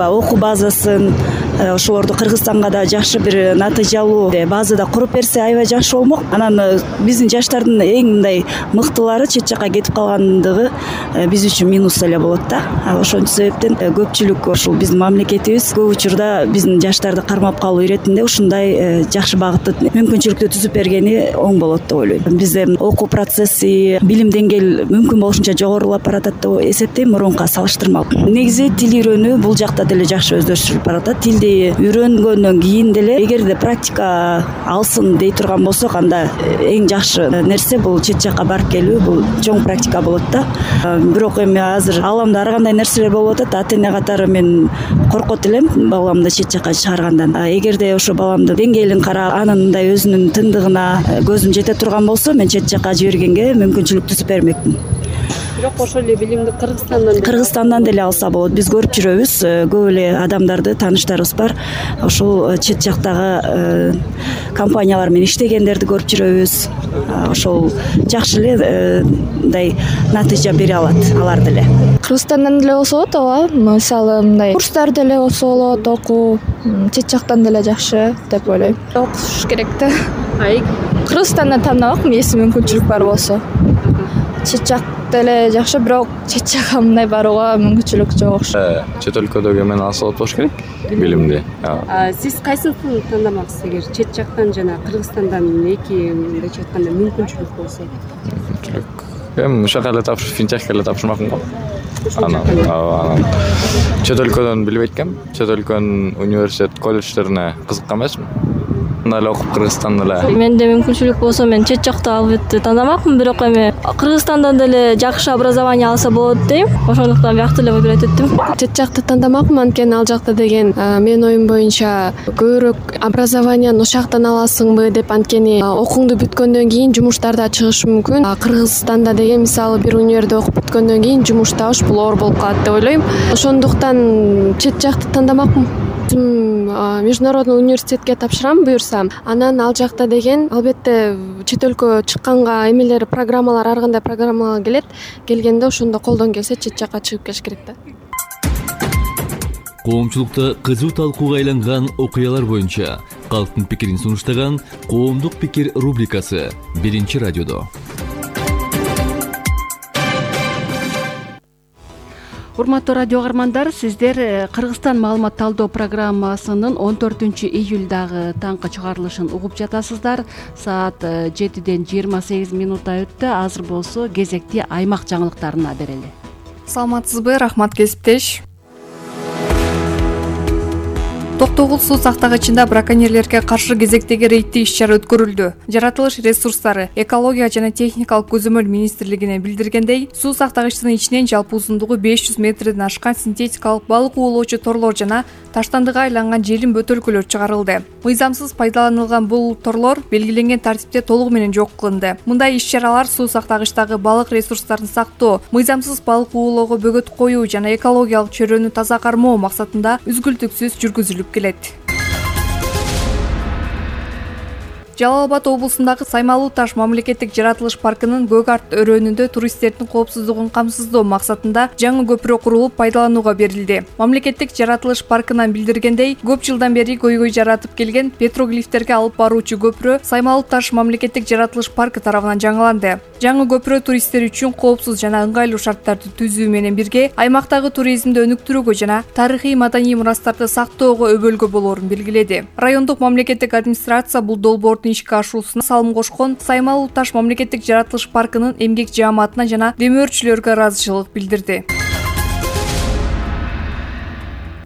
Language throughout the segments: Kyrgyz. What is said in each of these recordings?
окуу базасын ошолорду Кыргызстанга да жакшы бир натыйжалуу базада куруп берсе аябай жакшы болмок. Анан биздин жаштардын эң мындай мыктылары чет жакка кетип калгандыгы биз үчүн минус эле болот да. Ошол себептен көпчүлүк ушул биздин мамлекетибиз көп учурда биздин жаштарды кармап калуу иретинде ушундай жакшы багытты мүмкүнчүлүктү түзүп бергени оң болот деп ойлойм. Бизде окуу процесси, билим деңгээл мүмкүн болушунча жогорулап баратат деп эсептейм мурунка салыштырмалуу. Негизи тил үйрөнүү бул жакта деле жакшы өздөштүрүлүп баратат. Тилди үйрөнгөндөн кийин деле эгерде практика алсын дей турган болсок, анда эң жакшы нерсе бул чет жакка барып келүү, бул чоң практика болот да. Бирок эми азыр ааламда ар кандай нерселер болуп атат. Ата-эне катары мен коркот элем баламды чет жакка чыгаргандан. Эгерде ошо баламдын деңгээлин карап, анын мындай өзүнүн тындыгына көзүм жете турган болсо, мен чет жакка жибергенге мүмкүнчүлүк түзүп бермекмин. Бирок ошол эле билимди Кыргызстандан деле алса болот. Биз көрүп жүрөбүз, көп эле адамдарды, тааныштарыбыз бар. Ошол чет жактагы компаниялар менен иштегендерди көрүп жүрөбүз. Ошол жакшы эле мындай натыйжа бере алат алар деле. Кыргызстандан деле болсо болот, ооба. Мисалы мындай курстар деле болсо болот, окуу чет жактан деле жакшы деп ойлойм. Окуш керек да. Кыргызстандан тандабакмын, эси мүмкүнчүлүк бар болсо. Чет жак деле жакшы, бирок чет жакка мындай барууга мүмкүнчүлүк жок окшойт. Чет өлкөдөгү мен алса болуш керек билимди. Сиз кайсын тандамаксыз, эгер чет жактан жана Кыргызстандан эки мындайча айтканда мүмкүнчүлүк болсо? Эми ушака эле финтехке эле тапшырмакмын го. Анан чет өлкөдөн билбейт экенмин. Чет өлкөнүн университет, колледждерине кызыккан эмесмин. Эле окуп Кыргызстанда эле. Менде мүмкүнчүлүк болсо мен чет жакта албетте тандамакмын, бирок эми Кыргызстандан деле жакшы образование алса болот дейм. Ошондуктан биякты эле выбирать эттим. Чет жакта тандамакмын, анткени ал жакта деген менин оюм боюнча көбүрөөк образованияны ошол жактан аласыңбы деп, анткени окууңду бүткөндөн кийин жумуштар да чыгышы мүмкүн. Кыргызстанда деген мисалы бир универде окуп бүткөндөн кийин жумуш табыш бул оор болуп калат деп ойлойм. Ошондуктан чет жакты тандамакмын. Международный университетке тапшырам буюрсам, анан ал жакта деген албетте чет өлкө чыкканга эмелер, программалар, ар кандай программалар келет. Келгенде ошондо колдон келсе чет жакка чыгып келиш керек да. Коомчулукта кызуу талкууга айланган окуялар боюнча калктын пикирин сунуштаган Коомдук пикир рубрикасы Биринчи радиодо. Урматтуу радио каармандар, сиздер Кыргызстан маалымат талдоо программасынын 14-июлдагы таңкы чыгарылышын угуп жатасыздар. Саат 7-ден 28 минутта өттү. Азыр болсо кезекти аймак жаңылыктарына берели. Саламатсызбы, рахмат кесиптеш. Токтогул суу сактагычында браконьерлерге каршы кезектеги рейдтик иш-чара өткөрүлдү. Жаратылыш ресурстары, экология жана техникалык көзөмөл министрлигине билдиргендей, суу сактагычтын ичинен жалпы узундугу 500 метрден ашкан синтетикалык балык уулоочу торлор жана таштандыга айланган желим бөтөлкөлөр чыгарылды. Мыйзамсыз пайдаланылган бул торлор белгиленген тартипте толугу менен жок кылынды. Мындай иш-чаралар суу сактагычтагы балык ресурстарын сактоо, мыйзамсыз балык уулоого бөгөт коюу жана экологиялык чөйрөнү таза кармоо максатында үзгүлтүксүз жүргүзүлүп келет. Жалал Абад облусундагы Саймалуу таш мамлекеттик жаратылыш паркынын Көк Арт өрөөнүндө туристтердин коопсуздугун камсыздоо максатында жаңы көпүрө курулуп пайдаланууга берилди. Мамлекеттик жаратылыш паркынан билдиргендей, көп жылдан бери көйгөй жаратып келген петроглифтерге алып баруучу көпүрө Саймалуу таш мамлекеттик жаратылыш паркы тарабынан жаңыланды. Жаңы көпүрө туристтер үчүн коопсуз жана ыңгайлуу шарттарды түзүү менен бирге аймактагы туризмди өнүктүрүүгө жана тарыхый маданий мурастарды сактоого өбөлгө болоорун белгиледи. Райондук мамлекеттик администрация бул долбоордун ишке ашуусуна салым кошкон Саймалуу таш мамлекеттик жаратылыш паркынын эмгек жааматына жана демөөрчүлөргө ыраазычылык билдирди.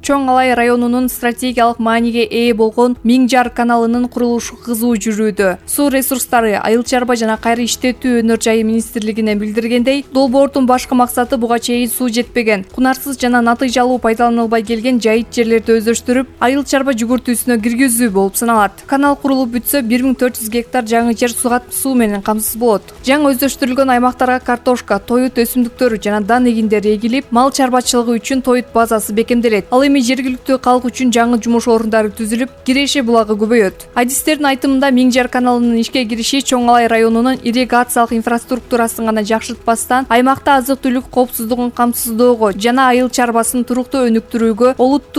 Чоң Алай районунун стратегиялык мааниге ээ болгон Миң Жар каналынын курулушу кызуу жүрүүдө. Суу ресурстары, айыл чарба жана кайра иштетүү өнөр жайы министрлигине билдиргендей, долбоордун башкы максаты буга чейин суу жетпеген, кунарсыз жана натыйжалуу пайдаланылбай келген жайыт жерлерди өздөштүрүп, айыл чарба жүгүртүүсүнө киргизүү болуп саналат. Канал курулуп бүтсө 1400 гектар жаңы жер суу менен камсыз болот. Жаңы өздөштүрүлгөн аймактарга картошка, тоют өсүмдүктөрү жана дан эгиндери эгилип, мал чарбачылыгы үчүн тоют базасы бекемделет. Ал жергиликтүү калк үчүн жаңы жумуш орундары түзүлүп, киреше булагы көбөйөт. Адистердин айтымында Миң Жар каналынын ишке кириши Чоң Алай районунун ирригациялык инфраструктурасын гана жакшыртпастан, аймакта азык-түлүк коопсуздугун камсыздоого жана айыл чарбасын туруктуу өнүктүрүүгө олуттуу